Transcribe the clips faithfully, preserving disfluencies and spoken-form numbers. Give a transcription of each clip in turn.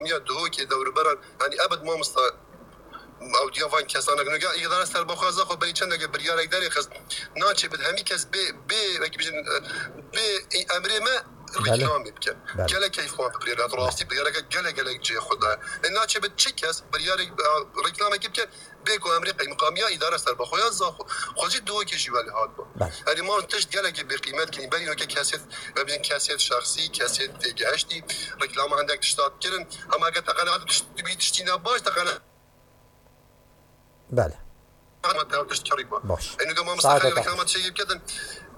ya Duhokê, dewruberan, yanî ebed mamosta ew diya van kesan nakin. Îdara serbixwe Zaxo berî çendeke biryarek derê xist. Naçe bit hemî kes bê, bê, wekî bijin, bê emrê me Belê. Reklamê bikin. Belê. Gelek keyfxweş biryar hat. Rastî biryareke gelek gelek cihê xwe daye. E, naçe bit çi kes biryarek, e, reklamekî bikin, bê ku emrê qeymeqamiya îdara serbixwe ya Zaxo. Xwe jî Duhokê jî welê hat bû. Belê. Erê, ma tişt gelekê bêqîmet kirî. Berî weke kesêt, me bijin kesêt şexsî, kesêt têgihiştî, reklama hindek tişta dikirin. Ama eger te qenaet tişt-, bî tiştî ne baş, te qenaet Belê. Ama te tişt kerî ba. Baş. Enu de mamosta Saete Xelîl te reklama xweş. Çêyê bikedin.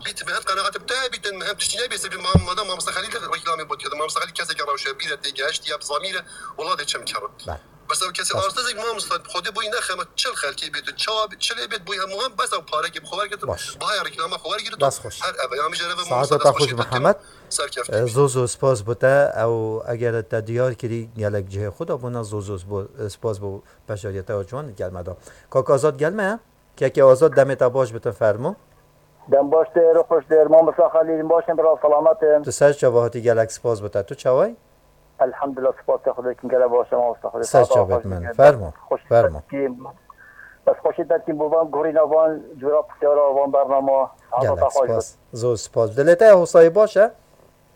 Bît me hep qenaet bi te bîtin, me hep tiştî nebî, sebî mam-, madem mamosta Xelîl reklamê bot kedin. Mamosta Xelîl keseke rewşe bîre têgihiştî ya bi zamîre, welatê çem kerin. Belê. Bes ew kesê Baş. Arsizek mamosta, xwedê boyî nexe me çil xelkê bêt, çawa bêt, çilê bêt, boyî hemû hem bes ew parekê bi xwe wergirt, Baş. Bahaya reklama xwe wergirt, Dest xweş. Her eve, ya min jere ve Saeta mamosta te dest xweş xweşî bi Mihemed. Serkeftin. E, zor zor spas bo te, ew eger te diyar kirî gelek cihê xwe de bûna zor zor spo-, spas bo beşdariyeta we ciwan gel me da. Kak Azad gel me, kekê Azad demê te baş bitin fermo. Dem baş tê, ro xweş tê, mamosta Xelîl, baş in, bira selamet in. Tu ser çava hatî gelek spas bo te, tu çaway? Elhamdulillah, spas te Xwedê kin gelek baş e, mamosta Xwedê. Ser çavêt min, fermo, fermo. Bes xweşî derkî bo van gorîna van cûra pisyara van bernama. Gelek spas, zor spas. Dilê te hosayî baş e?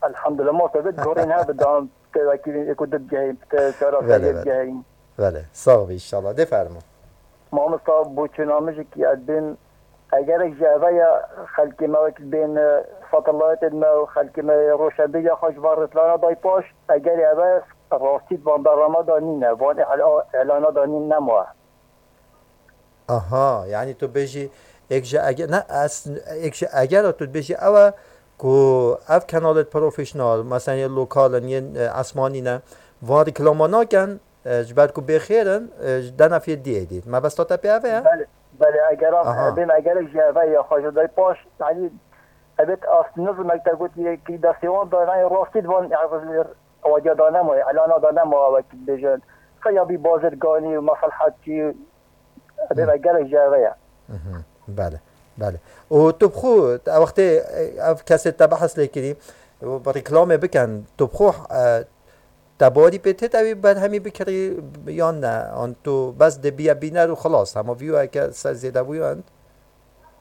Elhamdulillah, mamosta bit gorîn he, bi dan te wekî êku dibgehîn, te çara Vele, xeyrê vele. Bigehîn. Vele, sax bî inşallah. Dê fermo. Mamosta, boçûna min jî ki ez bêm, egerek ji eve ya xelkê me wekî bên, e, satelaytên me û xelkê me rewşenbîriya xwe ji van rêtlana day paş, eger eve rastî di van bernameya da nîne, van îla-, îlana da nîn nema. Aha, yanî tu bêjî, êk ji ege-, ne, ez, êk ji egera tu dibêjî ew e ku ev kanalê profesyonel, mesela yên lokal in, yên, e, esmanî ne, van reklama nakin, e, ji ber ku bêxêr in, e, ji dena fiyê diyê dît. Mebesta te pê ev e? Belê, belê, egeran, Aha. Bêm egerek ji eve ya xwe ji day paş, yanî, ebet as nizimek te gotî ki destê wan da, yanî rastî di van, Ewadiya da nema, îlana da nema, wekî dibêjin. Xeya bî bazirganî û meselhetçî, dê ve gelek ji eve ye. Mhm. Belê, belê. Û tu bi xwe, ew wextê, ev kesê te behs lê kirî, û bi reklamê bikin, tu bi xwe, e, te barî pê têt ew ê berhemî bikirî yan ne? An tu bes dê biye bîner û xilas, hema vîyoyeke ser zêde bûyan?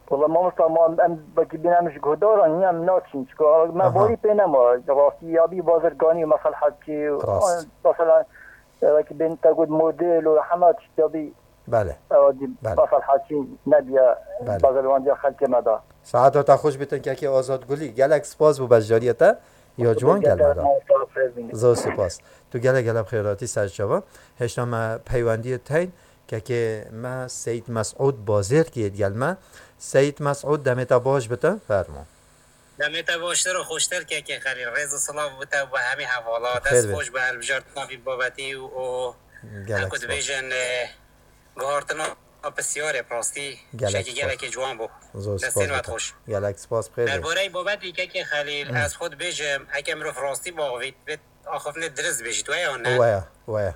Wala mamosta, ma em, em belkî bîne em ji guhdaran, niye em naçin, çiko me Aha. Borî pê nema, rastî ya bî bazirganî û meselhetçî û, Rast. Mesela, e, belkî bên te got model û hema tişt ya bî, Belê. E, dî Belê. Meselhetçî nebiye Belê. Bazirgandiya xelkê me da. Saeta te xweş bitin kekê Azad Gulî. Gelek spas bo beşdariyê te. Ya ciwan gel me da. Mamosta, xêr bîne. Zor spas. Tu gelek gelek bi xêr hatî ser çava. Hêşta me peywendiyê teyn. Kekê me Seyîd Mesûd Bazêrkî yê digel me. Seyîd Mesûd, demê te baş bite, fermo. Demê te baştir û xweştir kekê Xelîl. Rêz û silav bo te û bo hemî hevala. Xêr Dest be. Xweş bo hilbijartina vî babetî û, û Gelek heku spas. Dibêjin, e, guhartina pisyarê bi rastî Gelek şekî spas. Gelekê ciwan bû. Zor spas Destên we bite. Xweş. Gelek spas, bi xêr be. Derbareyê babetî kekê Xelîl, Hmm. Ez xwe dibêjim, heke mirov rastî baxivît, bê axiftinê dirist bêjît, we ya ne? We ya, we ya.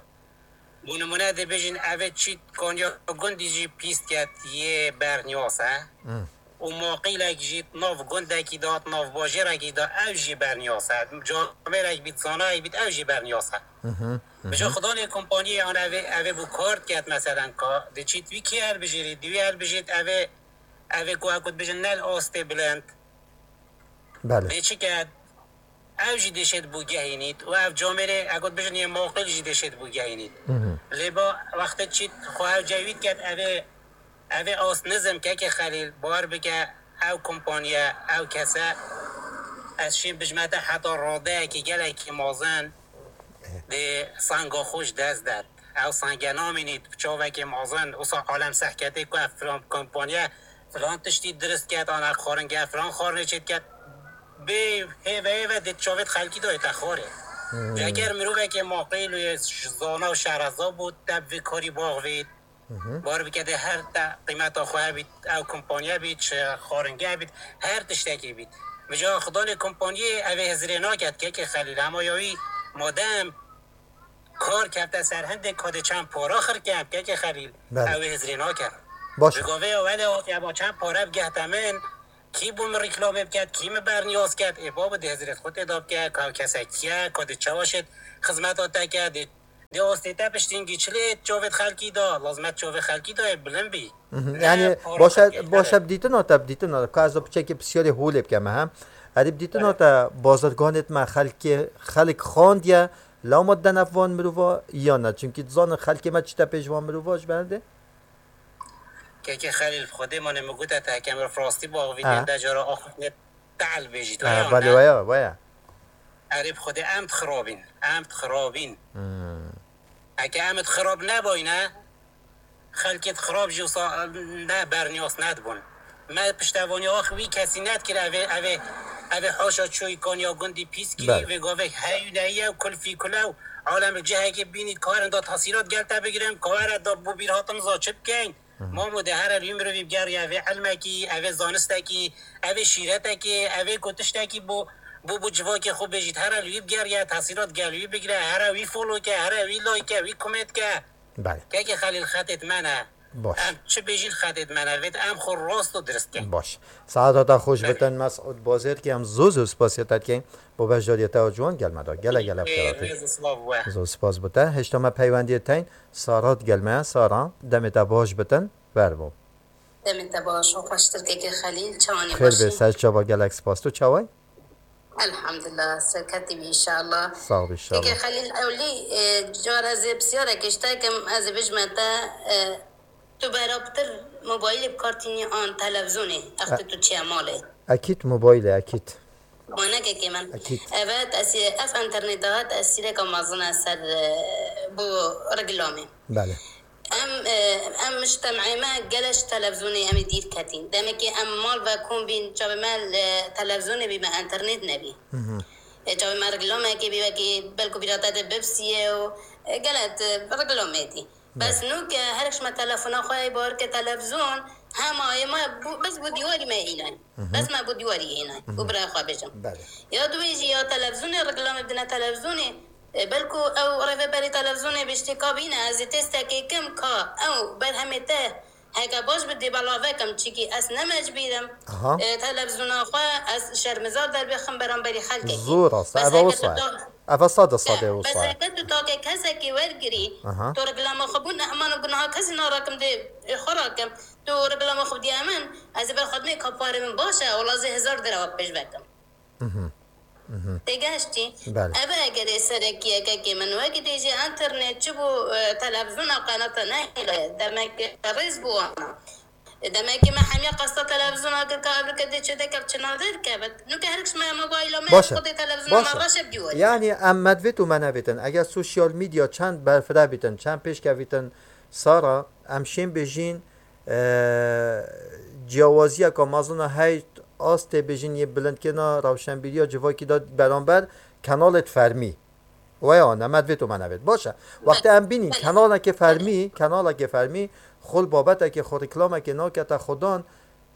Bo nimûne dibêjin, ev ê çît kaniya gundî jî pîs ket yê berniyas e. Hmm. Û maqîlek jî di nav gundekî de, di nav bajêrekî de, ew jî berniyas e. Camêrek bît, zanayek bît, ew jî berniyas e. Mhm, mhm. Bi jî xudanê kompaniyê an ev ê, ev ê bo kar diket, meselen ka, di çît wî kê hilbijêrî, di wî hilbijêt, ev ê, ev ê ku, ku dibêjin ne li astê bilind. Belê. Lê çi ket? Ew jî dê şêt bo gehînît û ev camêrê, egot bijin, yê maqîl jî dê şêt bo gehînît. Mhm. Lê ba wextê çît xwe ew cewît ket, ev ê, ev ê ast nizim kekê Xelîl, bawer bike, ew kompaniye, ew kese, ez şîn bijmete heta radeyekî gelekî mazin, dê senga xwe ji dest det. Ew senge namînît, bi çavekê mazin, wisa alem sehketê ku ev filan kompaniye filan tiştî dirist ket, an ev xwaringe filan xwarinê çêdiket, bê hêve hêve dê çavêt xelkî dayê te xwarê. Hmm. Eger mirovekê maqîl û yê zana û şereza bû, te bi vê karî baxivît. Mhm. Bar bike dê her te qîmeta xwe hebît, ew kompaniye bît, çi xwaringe bît, her tiştekî bît. Bi ca xudanê kompaniyê ev ê hizirê naket, kekê Xelîl, hema ya wî madem kar kefte ser hindê kadê çend para xirke, kekê Xelîl, Belê. Ew ê hizirê nake. Baş. Bi govê ya wele hatiye ba çend pare bigehte min, kî bo min reklamê biket, kî min berniyaz ket, ê babo dê hizirê xwe tê da bike, ka kesek kî ye, kadê çawa şêt xizmeta te ke, dê Ya astê te piştî hingî çilê çavê xelkî da, lazmet çavê xelkî da yê bilind bî. Mhm. Ne Yani para başa xelkê, başa evet. Bi dîtina te, bi dîtina te, ka ez piçekî pisyarê holê bikeme, ha. Erê bi dîtina Evet. Te bazirganê me xelkê, xelk xandiye, lewma dene van mirova ya ne? Çünkü dizanin xelkê me çi te pêş van mirova ji ber de? Kekê Xelîl, bi Xwedê mane min gote te, heke mirov rastî bi avînê Ha. de cara axiftinê tehl bêjît, Ha, veya belê ne? Waya, waya. Erê bi Xwedê em dixirabîn, em dixirabîn. Hmm. Heke em dixirab nebayne, xelkê dixirab jî wisa ne berniyas nedibûn. Me piştevaniya wî kesî nedikir, evê, evê, evê haşa çûyî kaniya gundî pîs kirî, Belê. Vê gavê heyû neyiye û kulfî kule û alem cihekê bînî karin da tesîrat gel te bigirin, kawere da bo bîr hatin za çi bikeyn? Hı hı. Mamo de here li wî mirovî bigeriya evê ilmekî, evê zanistekî, evê şîretekî, evê ku tiştekî bo, bo, bo civakê xwe bêjît. Here li wî bigeriya tesîrat gel wî bigire, here wî follow ke, here wî like ke, wî comment ke. Belê. Kekê Xelîl xetêt me ne. Baş. Em çi bêjîn xetêt me ne. Vêt em xwe rast û dirist kin. Baş. Saeta te xweş Belê. Bitin Mesûd Bazêrkî, em zû zû spasiya te dikeyn. Bo beşdariyê te ciwan gel me da. Gele gele Ê, xeratê. Rêz û silav we. Zû spas bo te. Hêşta me peywendiyê teyn. Sara digel me, Sara, demê te baş bitin, ver bo. Demê te baş û xweştir kekê Xelîl, çawanî Xêr baş bê, î? Ser çava, gelek spas. Tu çawa yî? Elhamdulillah, serketî bî înşallah. Sağ ol înşallah. Kekê Xelîl, ewlî, e, cara ez ê pisyarek îşte kim, ez ê bijme te, e, tu beraptir mobaylê bi kar tînî an televîzyonê, E- wextê tu çiye malê? Ekîd mobaylê, ekîd. Manekekê min. Ekîd. Evet, ez ê, ev înternêt de tesîreka mezin e ser, e, bo reklamê. Belê. Em, e, em mujtemê me gelek ji televîzyonê em ê dîr ketîn. Demekê em mal ve kom bîn, çavê me li televîzyonê bî, me înternêt nebî. Hı hı. E, çavê me reklamekê bî, wekî belku bîra te de bipsiye û, e, gelek, e, reklamê dî. Bes Belê. Nûke her ji me telefona xwe yê bar ke televîzyon, hema yê me bû, bes bo dîwarî me hînay. Hı hı. Bes me bo dîwarî hînay. Hı hı. Û birayê xwe bêjim. Belê. Ya duwê jî ya televîzyonê, reklamê bidine televîzyonê. E, belku ew rêveberê televîzyonê bêjtê ka bîne, ez ê testekê kim ka ew berhemê te heke baş bi dê belav vekim, çikî ez ne mecbûr im, Aha. e, televîzyona xwe ez şermizar derbixim beramberî xelkekî. Zor rast, Bes eve heke wisa tu ye. ta- Eve sade sade Te, bes wisa ye. heke tu take kesekî wergirî, Aha. tu reklama xwe bû nehman û gunaha kesî narakim dê, e, xwe rakim. Tu reklama xwe diye min, ez ê ber xwe dinê ka parê min baş e, wela ez ê hezar dirham pêş vekim. Mhm. Mhm. Têgeştî. Belê. Ev egerê serekî ye kekê min. Wekî dê jî înternet çi bû, e, televîzyona qenata nehêle. Demek rêz bû wana. E, demekî me hemiya qesta televîzyona kir ka ev rike dê çi deke çi nadir kevit. Nuke her kişme mobayla me Baş e. xwedê televîzyona Baş me e. reşe bî were. Yani em me divêt û me nevêtin. Eger sosyal medya çend berfireh bîtin, çend pêşkevîtin, Sara, em şên bêjîn, e, ciyawaziyeka mezin a hey astê bêjin yê bilindkirina rewşenbîriya civakî de beramber kenalêt fermî. Weya ne, me divêt û me nevêt. Baş e. Wextê em bînîn Belê. kenalekê fermî, kenalekê fermî, xwe li babetekê xwe reklamekê nakete xwedan,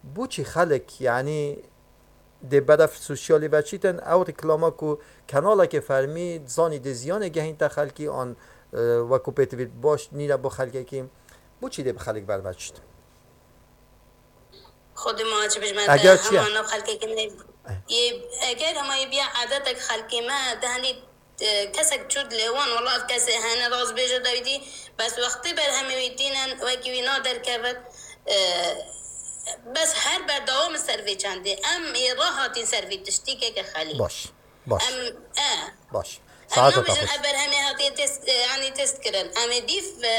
bo çî xelk, yanî dê beref sosyalî veçîtin, ew reklama ku kenalekê fermî zanî dê ziyanê gehînte xelkî an, e, wekû pêtivî baş nîne bo xelkekî, bo çî dê bi xelk berveçît? Xwedê ma çi bijme Eger te, çi ye? hema nav xelkekî ne, Eh. yê, eger hema yê biya adetek xelkê me, de henî, e, kesek çû dilê wan, wela ev kesê hene rast bêje dawîdî, bes wextê berhemê wî tînin, wekî wî na derkevit, e, bes her berdewam ser vê çendê. Em ê rahatîn ser vê tiştî keke Xelîl. Baş, baş. Em, e, Baş. Em Saeta nabêjin te xweş. ev berhemê hatiye test, e, yanî test kirin. Em ê dîv, e,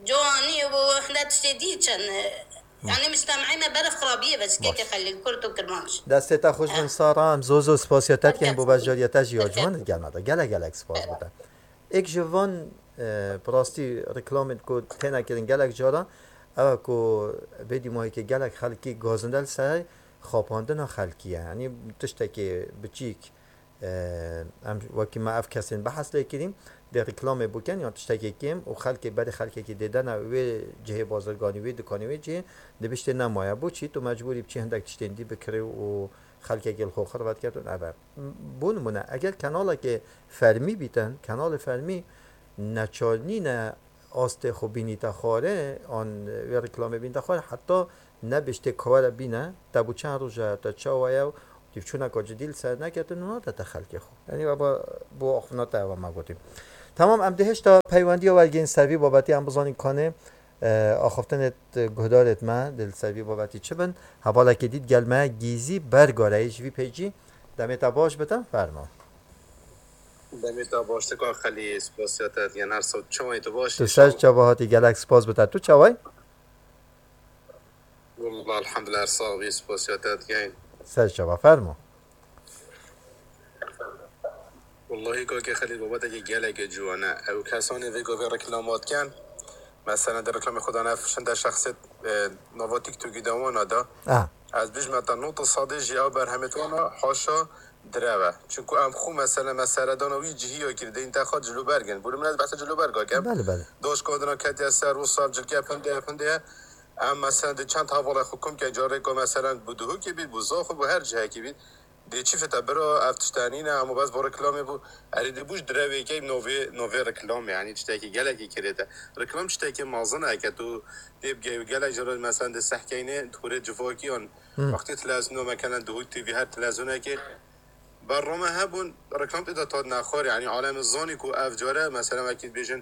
ciwanî û hinde tiştê dî çin, e, yanî mujtemê me berf xirabiyê ve çikeke Baş. Xelîl Kurd û Kirmanc. Destê te xweş bin Eh. Sara, em zor zor spasiya te dikin bo beşdariyê te jî ya ciwan di gel me de. Gelek gelek spas bo te. Êk ji van, e, bi rastî reklamên ku têne kirin gelek cara, ew e ku vê dîmahekê gelek xelkî gazinde li ser xapandina xelkî ye. Yanî tiştekê biçîk, e, em wekî me ev kesên behs lê kirîn, dê reklamê bikin yan tiştekê kêm û xelkê berê xelkekî dê dene wê cihê bazirganî, wê dikanê, wê cihê, dê biştê nemaye. Bo çî tu mecbûrî biçî hindek tiştên dî bikirî û xelkekê li xwe xirvet ket û nebe. Bo nimûne, eger kenalekê fermî bîtin, kenalê fermî neçar nîne astê xwe bînîte xwarê, an wê reklamê bînîte xwarê, heta nebêjtê kawere bîne, te bo çend roj e, te çawa ye û dîvçûneka cidî li ser neketin û nade te xelkê xwe. Yanî eva bo axiftina te eva me gotî. Tamam, em dê hêşta peywendiya wergên ser vî babetî em bizanîn kanê, e, axaftinê d-, guhdarêt me dê li ser vî babetî çi bin. Hevalekê dît gel me Gîzî Bergareyî ji vî peycî. Demê te baş bitin, fermo. Demê te baş, te ka Xelî, spasiya te dikin, her saet çawa yî, tu baş Tu yî, ser çawa hatî, gelek spas bite. Tu çawa yî? Wallah, elhamdulillah, her sax bî, spasiya te dikin. Ser çava, fermo. Wallahî, kakê Xelîl, babetekî gelekê ciwan e. Ew kesanê vê gavê reklama dikin. Mesela, di reklamê xwe de ne, şinde şexsê, e, nava TikTokî de wana da. Ah. Ez bijme te, nod û sedê jî ew berhemêt wana, haşa direw e. Çunku em xwe, mesela, me seredana wî cihî ya kir, dê întexa cilûberg in. Bû li min ez behsa cilûberga kem. Belê, belê. Daş kadina ketiye ser û sav cilke pinde ye, pinde ye. Em, mesela, di çend hevalê xwe kom ke carêka, mesela, bû Duhokê bît, bû Zaxo bû, her cihekî bît. Dê çi fete bira, ev tişte nîne, hemû bes bo reklamê bû. Erê, dê bû ji direvê key novê, novê reklamê, yanî tiştekî gelekî kirête. Reklam tiştekî mezin e, ke tu tê bigeyî, gelek caran, mesela, di sehkeynê, di xurê civakiyan, Hmm. wextê televizyona me kenen, Duhok T V, her televizyonekê, berrame hebûn, reklam tê de tat nexwar, yanî alem zanî ku ev care, mesela, wekî bêjin,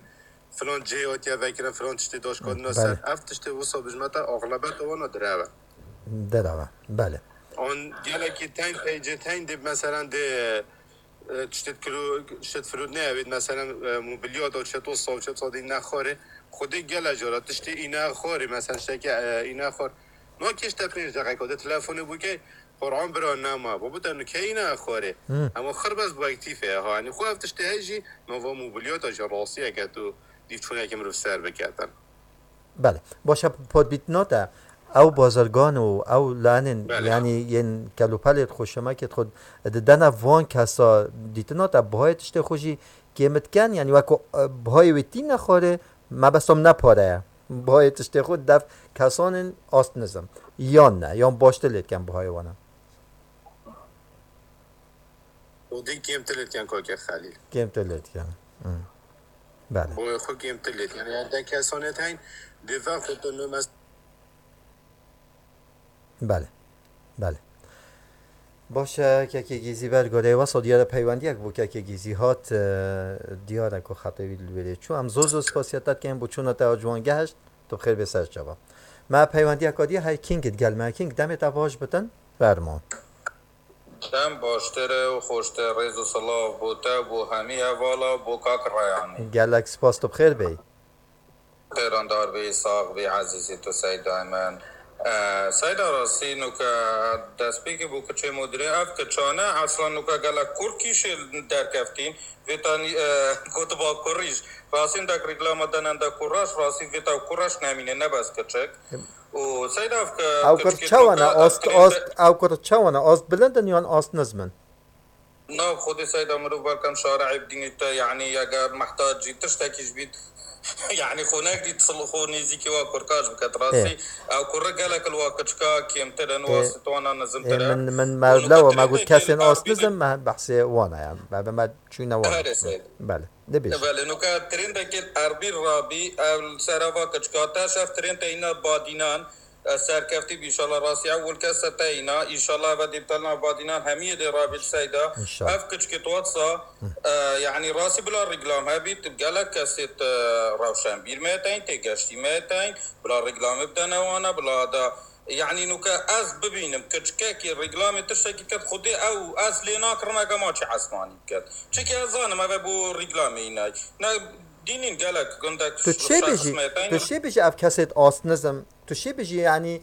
filan cihê hatiye vekirin, filan tiştê daşkandina Belê. ser. Ev tiştê wisa bijmete axlebeta wana direw e. Direw e, belê. An gelekî teyn peycê teyn dê, mesela, dê, e, tiştê kilo, tiştê firût ne evêt, mesela, e, mobilyata, çeto sav, çeto dî nexwarê. Xwedê gele cara tiştê îne xwarê, mesela, tiştekî, e, îne xwar. No kêşte pênc deqeyka de telefonê bûkey, Quran bira nema, bo bû te nikeyî ne xwarê. Hmm. Ama xirbez bu ektîfe ya, ha, yani xwe ev tiştê hej jî, nava mobilyata jî rastiyeke tu dîv çûneke mirov ser biketin. Belê. Baş e, pot bîtina te, ew bazirgan û ew lanên, Belê. yani yên kelûpelê xwe, şemekê xwe didene van kesa dîtina te, bihayê tiştê xwe jî kêm diken, yani wek ku, e, bihayê wê tîne xwarê, mebestom ne pare ye. Bihayê tiştê xwe def kesanên ast nizim. Yan ne, yan baştir lê diken bihayê wana. Xwedî kêmtir lê diken, Kake Xelîl. Kêmtir lê diken. Hmm. Belê. Boyê xwe kêmtir lê diken. Yani de kesanê teyn, dê ve xwe tu nûmes- Belê. Belê. Baş e, Kekê Gîzî ber goreyê wesa diyar e peywendiyek bo Kekê Gîzî hat, e, diyar e ku xetê wî li wêrê çû. Em zor zor spasiya te dikin bo çûna te a ciwan gehişt, tu bi xêr bê ser çava. Me peywendiyeka dî hey King digel me. King, demê te baş bitin, fermo. Dem baştir e û xweştir, rêz û silav bo te, bo hemî hevala, bo kak Reyanî. Gelek spas, tu bi xêr bêyî. Xêrandar bî, sax bî, ezîzê tu Seyda min. E, Seyda, rastî nuke destpêkê bo kiçê mudirê, ev kiçane eslan nuke gelek kur kîşê derkeftîn. Vê tanî, e, gotiba kurîş. Rastî dek reklama denen de kuraş, rastî vê taw kuraş nemîne, ne bes kiçik. Û Seyda, ev ke Ew kur kiçikê çawa ne? Ast, ast, ev ew kur çawa ne? Ast bilind in yan ast nizm in? Na, xwedê Seyda, mirov belkem şare'ê bidînî te, yanî yege mehtacî tiştekî ji bît, yanî xwe nekdît, xwe nêzîkî wa kurkaş biket. Rastî, ew kurre gelek li wa kiçika kêmtir in, wa Ê, stwana nizimtir ê, e. Min, min me Û lewa me got kesên ast nizim, me behsê wan e, ya. Me, me çûne wan. Herê Seyda. Belê. Dibêje. Belê, nuka trêndekê li Erbîl rabî, ev li ser eva kiçika te şev trênd te îna Badînan, e, serkeftî bî, înşallah rastî ew wil kes te îna, înşallah eve dê bi te nav Badînan hemiyê dê rabî li Seyda. Înşallah. Ev kiçikê tu wetsa, e, yanî rastî bila rîklam hebî, tu gelek kesê te rewşenbîr me teyn, tê geştî me teyn, bila rîklamê bidene wana, bila da Yanî nuke ez bibînim kiçikekî rîklamê tiştekî ket, xwedê ew ez lê nakirim ege maçê esmanî biket. Çikî ez zanim eve bo rîklamê înay. Ne dînîn gelek gundek Tu çê bijî, tu çê bijî ev kesêt ast nizim, tu çê bijî yanî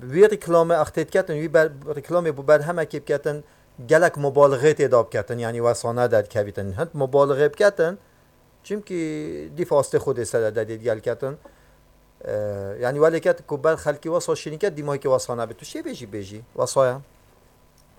wî rîklamê extê diketin, wî ber, rîklamê bo berhemekê biketin, gelek mubalixê tê da biketin, yanî wesane derdikevîtin. Hind mubalixê biketin, Çimkî dîf astê xwe dê sere de dê digel ketin. E, yanî welê ket ku ber xelkî wesa şirîn ket, dîmayekî wesa nebe. Tu şê bêjî bêjî. Wesa ye.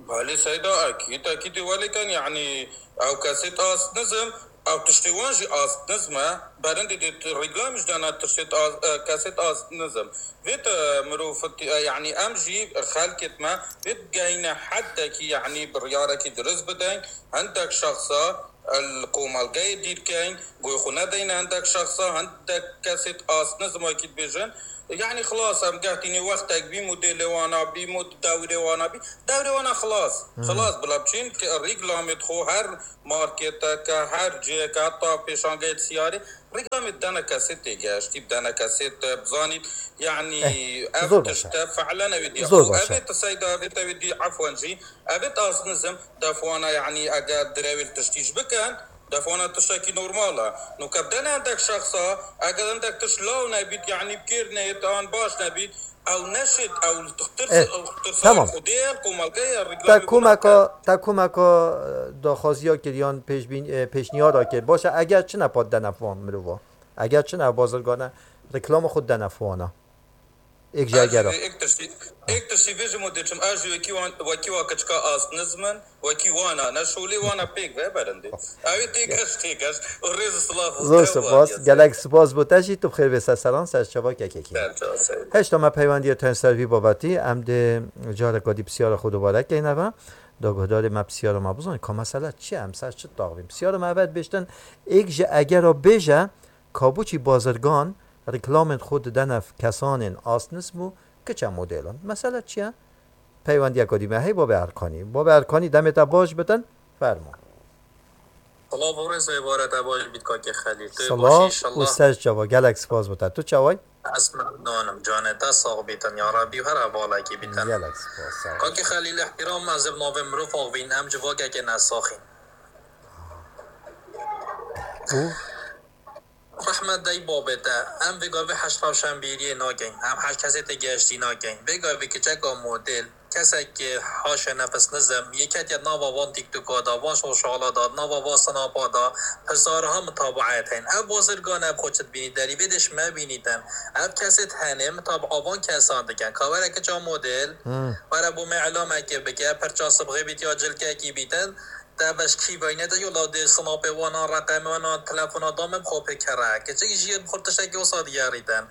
Belê Seyda, ekîd, ekîd ê welê ken, yanî ew kesêt ast nizim, ew tiştê wan jî ast nizm e. Berindê dê tu rîklamê ji dana tiştêt ast, e, kesêt ast nizim. Vê te mirov, e, yanî em jî xelkêt me, vê digehîne heddekî, yanî biryarekî dirist bideyn. Hindek şexsa El komelgeyê dîr keyn, guhê xwe nedeyne hindek şexsa, hindek kesê asnizm wekî dibêjin. Yanî xilas em geh tînê wextek bî modêlê wana bî, mod dewrê wana bî. Dewrê wana xilas. Xilas bila biçîn ki rîklamê xwe her marketeke, her ciheke, heta pêşangeyê siyarê rîklamê dene kesê têgeştî, dene kesê te bizanît. Yanî Eh, ev zor baş e. tişte fe'len ew dî. Zor Û baş e. Evê ti seyda, evê te wê dî, efwen jî, evê asnizm, Def wana, yanî eger direwêl tiştî ji bikin, def wana tiştekî normal e. Nuke bidene hindek şexsa, eger hindek tişt law nebît, yanî bikêr neyêt, an baş nebît, ew neşêt, ew tirsa, Eh, ew tirsa tamam. Xwedê ye, komelge ye, Te rîklamê komeka, te komeka, e, daxwaziya kir yan pêşbîn-, e, pêşniyara kir. Baş e, eger çi ne pat dene van mirova? Eger çi ne bazirgane, rîklama xwe dene wana? Êk ji Ez jî egera. vê êk tiştî, êk tiştî vê ji modê çim. Ez jî wekî wan, wekî wa kiçika asnizm in, wekî wana ne şolê wana pêk ve berindê. Ew ê têgeş, têgeş. Û rêz û silav û Zor dew spas. Gelek spas bo te jî, tu bi xêr vê ser seran, ser çava kekekî. Heşta me peywendiyê te ser vî babetî, em dê careka dî pisyara xwe dubare keyne ve. Da guhdarê me pisyara me bizanî, ka mesele çi ye, em ser çi taxivîn. Pisyara me eve dibêjtin, êk ji egera bêje, Kabûçî bazirgan rîklamên xwe didene kesanên asnizm û kiçe modêlan. Mesele çi ye? Peywendiyeka dî me heye, Babê Erkanî. Babê Erkanî, demê te baş bitin, fermo. Silav û rêz û êvara te baş bît, kakê Xelîl. Tu baş Silav û înşallah. ser çava. Gelek spas bo te. Tu çawa yî? Ez memnûn im. Canê te sax bîtin, ya Rebî, û her hevalekî bîtin. Gelek spas, sağ ol. Kakê Xelîl, îhtîram, ez ê bi navê mirov axivîn, em civakekê nesaxîn. Û? Rehmet dey babê te, em vê gavê heşt rewşenbîriyê nakeyn, em heşt kesê têgihiştî nakeyn. Vê gavê kiçeka model, kesek ke haşa nefis nizim, yê ketiye nava van TikToka da, van sosyala da, nava van Snapa da, hezarha mitabaet hene. Ev bazirgan ev xwe çi dibînî, derî vê dê ji me bînîtin. Ev kesê hene, mitabaa van kesan dikin. Ka were kiça model, Hmm. were bo me îlamekê bike, pirça sibxê bît ya cilkekî bîtin. Te veşkî veyne de yola dê sinapê wana, reqemê wana, telefona da min xwe pê kere. Keçik jiyê bi xwe tiştekî wisa digerîtin.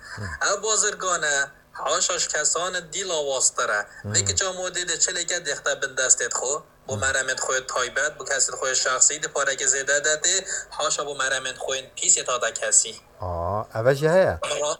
Ev bazirgan e, haşa ji kesan dî lawaztir e. Vê kiça modê de çileke dêxte bin destê xwe. Bo meremê xwe taybet, bo kesê xwe şexsî, di pareke zêde de tê, haşa bo meremê xwe pîsê ta de kesî. Aa, eve jî heye. Mira-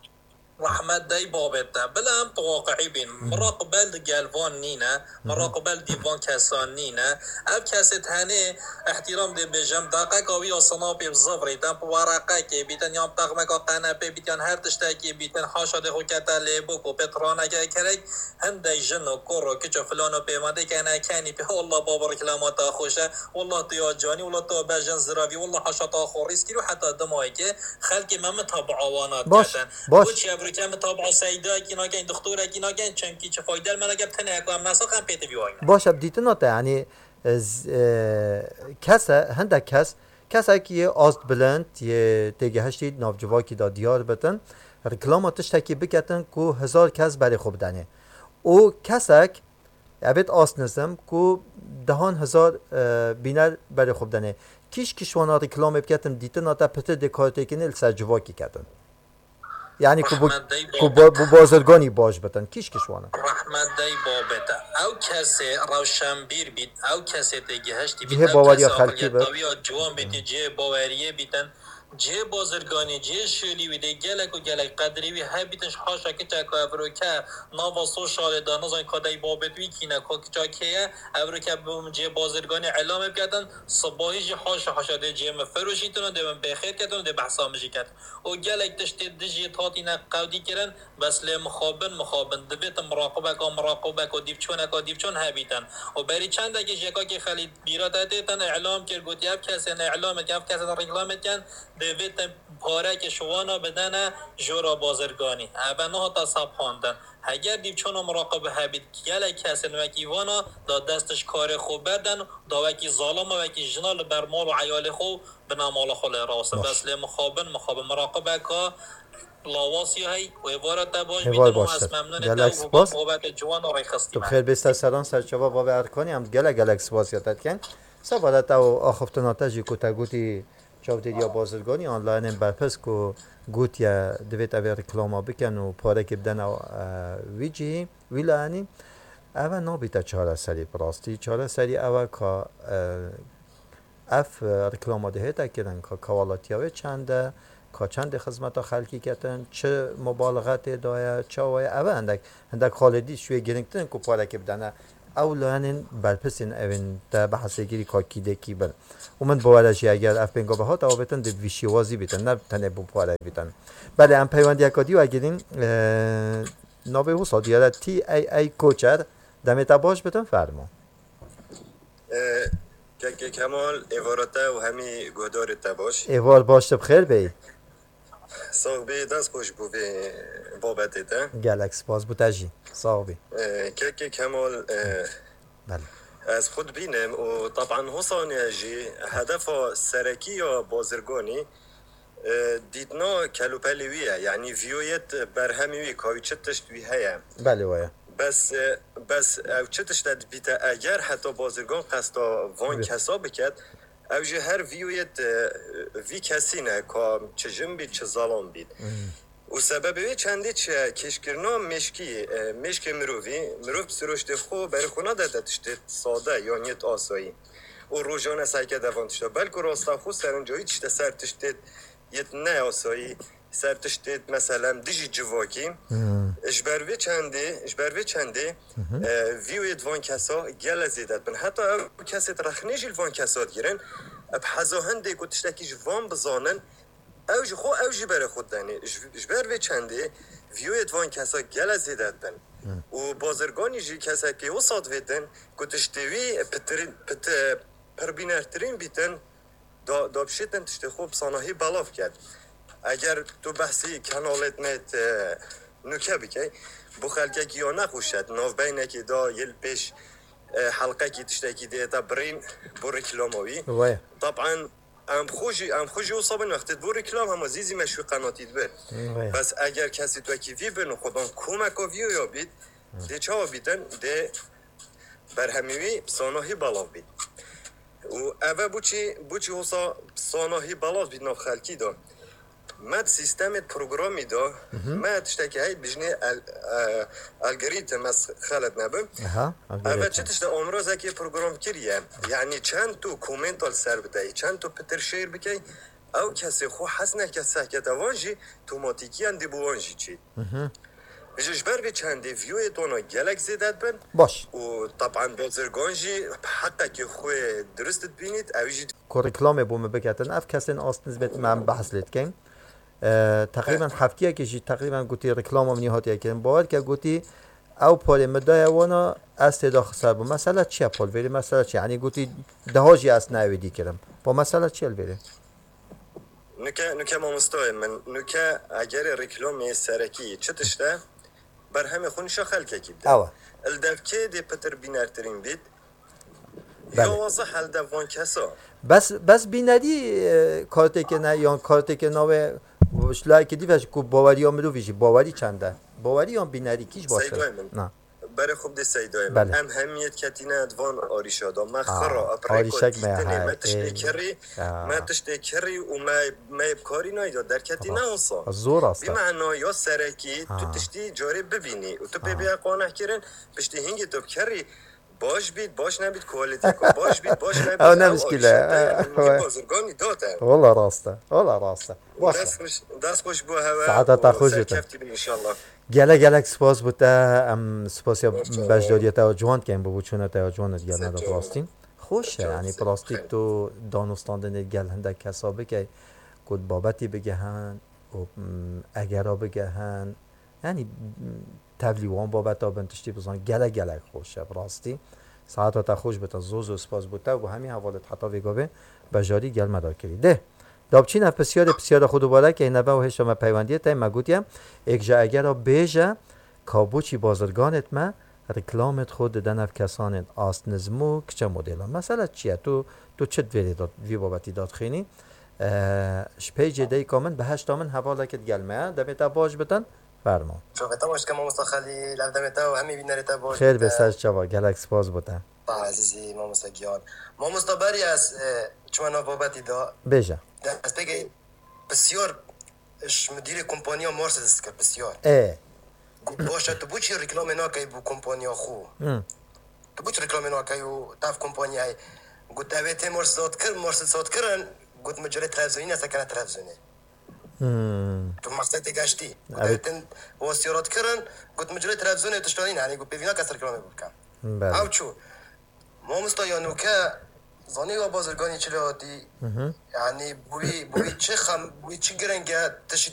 Rehmet dey babê te. Bila em tu waqiî bîn. Miraqibel di gel van nîne. Miraqibel dî van kesan nîne. Ev kesê tenê îhtîram dê bêjim. Deqeka wî ya sinapê bi zivrî, dem bi wereqekê bîtin, yan texmeka qenepê bît, yan her tiştekî bîtin, haşa dê xwe kete lê bûk û pê tiraneke kerek, hindek jin û kur û kiç û filan û pêvendê kene kenî pê, "Wallah baba, reklama te xweş e. Wallah tu ya canî, wallah tu ya bejin ziravî, wallah haşa te xwe rîs kir." Û heta dimayekê xelkê me mitabaa wana Baş, diketin. baş. Boçî evroke mitabaa seydayekî nakin, doktorekî nakin, çimkî çi fayde li me nake, tenê ku em nesax em pê tivî wayne. Baş, ev dîtina te, yanî, e, z-, e, kese, hindek kes, kesek yê ast bilind, yê têgihiştî navcivakî de diyar bitin, reklama tiştekî biketin ku hezar kes berê xwe bidenê. Û kesek, Evêt ast nizim ku dehan hezar, e, bîner berê xwe bidenê. Kîş kîş wana reklamê biketin, dîtina te pitir dê kar têkine li ser civakî ketin. Yanî ku bu, Rehmet dey ku babê bu, te. bu bazirganî baş bitin. Kîş kîş wana. Rehmet dey babê te. Ew kesê rewşenbîr bît, ew kesê têgihiştî bît, Cihê ew baweriya kes xelkî aqiliyeta bit. wî ya ciwan bîtî, cihê baweriyê bîtin. Cihê bazirganî, cihê şêlî wî dê gelek û gelek qedrê wî hebîtin, ji haşa kiçeka evroke nava sosyalê de nizanî ka dey babê wî kî ne, ka kiça kê ye, evroke bi cihê bazirganî îlamê biketin, sibahî jî haşa haşa dê cihê min firoşîtin û dê min bêxêr ketin û dê behsa min jî ketin. Û gelek tiştê dijî hatîne qewdî kirin, bes lê mixabin, mixabin. Divêt miraqibeka, miraqibeka, dîvçoneka, dîvçon hebîtin. Û berî çendekî jê kakê Xelîd bîra te têtin, îlam kir, gotî, ev kesên îlam dikin, ev kesên rîklam dikin, divêt pareke ji wana bidene jora bazirganî. Eve nehata sepandin. Heger dîvçona miraqib hebît, gelek kesên wekî vana da dest ji karê xwe berden, da wekî zalama, wekî jina li ber mal û eyalê xwe bina mala xwe lê rawsin. Baş. Bes lê mixabin, mixabin miraqibeka lawasî hey û êvara te baş Êvar bîtin û baş ez ser. memnûnê te Gelek û spas. babetê ciwan û rêxistî Tu me. Bi xêr bê ser seran ser çava bavê Erkanî, em gelek gelek spasiya te dikin. Sebara te û axiftina te jî ku te gotî çavdêriya bazirganî an layinên berpirs ku gotiye divêt evê reklama bikin û parekê bidene, e, wî cihî, wî layenî. Eve nabîte çareserî bi rastî. Çareserî ew e ka, e, Ev, e, reklama dihête kirin, ka kewalatiya wê çend e, ka çendê xizmeta xelkî ketin, çi mubalixe tê daye, çawa ye, ev e hindek, hindek xalê dî ji wê girîngtir in ku parekê bidene. Ew layenên berpirsên evên te behsê kirî ka kî dê kî bin. Û min bawer e jî eger ev pênga bihat, ew bêtin dê bi vî şêwazî bîtin, ne tenê bo pare bîtin. Belê, em peywendiyeka dî wegirîn, e, navê wisa diyar e, T A A Koçer, demê te baş bitin, fermo. E, Kekê Kemal, êvara te û hemî guhdarê te baş. Êvar baş, tu bi xêr bêyî. Sax bî, dest xweş bo vê babetê te. Gelek spas bo te jî. Sax bî. E, Kekê Kemal, e, Belê. ez xwe dibînim û teban Hosaniye jî hedefa serekî ya bazirganî, e, dîtina kelûpelê wî ye. Yanî vîyoyet berhemê wî, ka wî çi tişt wî heye. Belê, waya. Bes, e, bes ew çi tişt e dibîte eger heta bazirgan qesta van Bi- kesa biket, ew jî her vîyoyet, e, vî kesî ne, ka çi jin bît, çi zelam bît. Hmm. Û sebebê wê çendê çi ye? Kêşkirina mêşkî, e, mêşkê mirovî, mirov bi siroştê xwe berê xwe nade te tiştê sade yan yêt asayî. Û rojane seke de van tişta. Belku rasta xwe serinca wî tişte ser tiştê yêt ne asayî, ser tiştê, meselen, dijî civakî. Hmm. Ji ber vê çendê, ji ber vê çendê, Hı hı. e, vîyoyê di van kesa gele zêde dibin. Heta ew kesê di rexnê jî li van kesa digirin. Bi heza hindê ku tiştekî ji van bizanin, ew ji xwe, ew jî berê xwe didenê. Ji, ji ber vê çendê vîyoyê di van kesa gele zêde dibin. Hı. Û bazirganî jî kesekê wisa divêtin ku tiştê wî pitirîn, pit-, pirbînertirîn bîtin, da, da bişêtin tiştê xwe bi sanahî belav ket. Eger tu behsî kanalêt me, e, nûke bikey, bo xelkekî ya nexweş e, navbeynekê da yê li pêş, e, helqekî tiştekî dê te birîn bo reklama wî. Waya. Taban em xwe jî, em xwe jî wisa bin wextê bo reklam hema zî zî me şû qenatî dibir. Waya. Bes eger kesê tu wekî vî bin û xwedan komeka vîyoya bît, Hı. dê çawa bîtin? Dê berhemê wî bi sanahî belav bît. Û ev e bo çi, bo çi wisa bi sanahî belav bît nav xelkî de. Me di sîstemê programî de, Hı hı. me tiştekî heyî dijnê el-, e, algoritm, ez xelet nebim. Aha, Ev e çi algoritm. tişt e, amrazekê program kiriye. Yanî çend tu komenta li ser bideyî, çend tu pitir şêr bikey, ew kesê xwe hez neke sehkete wan jî tomatîkiyan dê bo wan jî çî. Hı hı. Ji, ji ber vê çendê vîyoyê tona gelek zêde dibin. Baş. Û taban bazirgan jî bi heqekê xwe dirust dibînît, ew jî Ku reklamê bo me biketin, ev kesên ast nizbet me em behs lê dikeyn. E, teqrîben heftiyekê jî teqrîben gotî reklama min hatiye kirin. Bawer ke gotî ew parê min daye wana ez tê de xisar bûm. Mesela çi ye, Pol? Vêrê mesela çi ye? Yanî gotî daha jî ez ne ewê dî kirim. Po mesela çi ye li vêrê? Nuke, nuke mamostoyê min, nuke egerê reklamê serekî çi tişt e, berhemê xwe nişa xelkekî bide. Ewa. Li devkê dê pitir bînertirîn bît. Belê. Ya waza helde van kesa. Bes, bes bînerî, e, kartêkê ne, yan kartêkê navê, ji layekê dî ve ji ku baweriya mirovî jî, bawerî çend e? Bawerî yan bînerî kî ji baş e? Seydayê min. Na. Berê xwe bidê Seydayê min. Belê. Em hemiyet ketîne di van arîşa de. Me Aa, xira, bi rêka arîşek me dîtinê, heye, me tiştê ê. Kirî, Ya. me tiştê kirî û me, me bi karî nayda. Derketî ne Rast. wisa. Zor rast e. Bîmena ya serekî, tu Ha. tiştî carê bibînî û tu pê Ha. bê qaneh kirin, piştî hingî tu bi kirî baş bît, baş nebît, kualiteka baş bît, baş nebît. Ew ne Ew mişkîl e. arîşa te ye, Ew, min bazirganî date. Wala rast e. Wala rast e. Baş e. Dest xweş, dest xweş bo hewe Saeta te û xweş bite. serkeftî bin inşallah. Gelek gelek spas bo te, em spasiya Hoşça beşdariyê te ya ciwan dikeyn, bo bûçûna te ya ciwan digel me de Sê tu. rastîn. Xweş e, Çok yanî sağ ol. rastî tu danûstandinê gel hindek kesa bikey, ku babetî bigehin û, mm, egera bigehin. Yanî, mm, tevlî wan babeta bin tiştî bizan gelek gelek xweş e, bi rastî. Saeta te xweş bite, zor zor spas bo te û bo hemî hevalêt heta vê gavê bejarî gel me de kirî. Dê. Da biçîne pisyarê, pisyara xwe dubare keyne ve û hêşa me peywendiyê te me gotiye, êk ji egera bêje, ka boçî bazirganêt me reklamêt xwe dide nav kesanên ast nizm û kiçe modêlan. Mesela çi ye? Tu, tu çi di vê de, vî babetî de dixînî? E, ji peycê deyka min bi heyşta min hevalekê digel me ye. Demê te baş bitin. Fermo. Çavê te baş ke mamosta Xelîl, ev demê te û hemî bînerê te baş Xêr bê bite. ser çava, gelek spas bo te. Ezîzî mamosta giyan. Mamosta berî ez, e, çima nav babetî da. Bêje. Destpêkê pisyar ji mudirê kompaniya Mercedes dike pisyar. Ê. Got, baş e, tu boçî reklamê nakey bo kompaniya xwe? Hı. Tu boçî reklamê nakey û tev kompanyayê? Got, "Ew ê tê morsizotkir, morsizotkirin." Got, "Min cilê televîzyonî ne, sekene televîzyonê." Hmm. Tu maqsetê geştî. Got, Evet. "Ew ê tên westiyoratkirin." Got, "Min cilê televîzyonê tiştanî ne." Yanî got, "Pêvî nake ser kilamê bikim." Belê. Ew çû. Mamosta ya nûke zanî wa bazirganî çi lê hatî. Yanî bi wî, bi wî çi xem, bi wî çi giring e, tiştî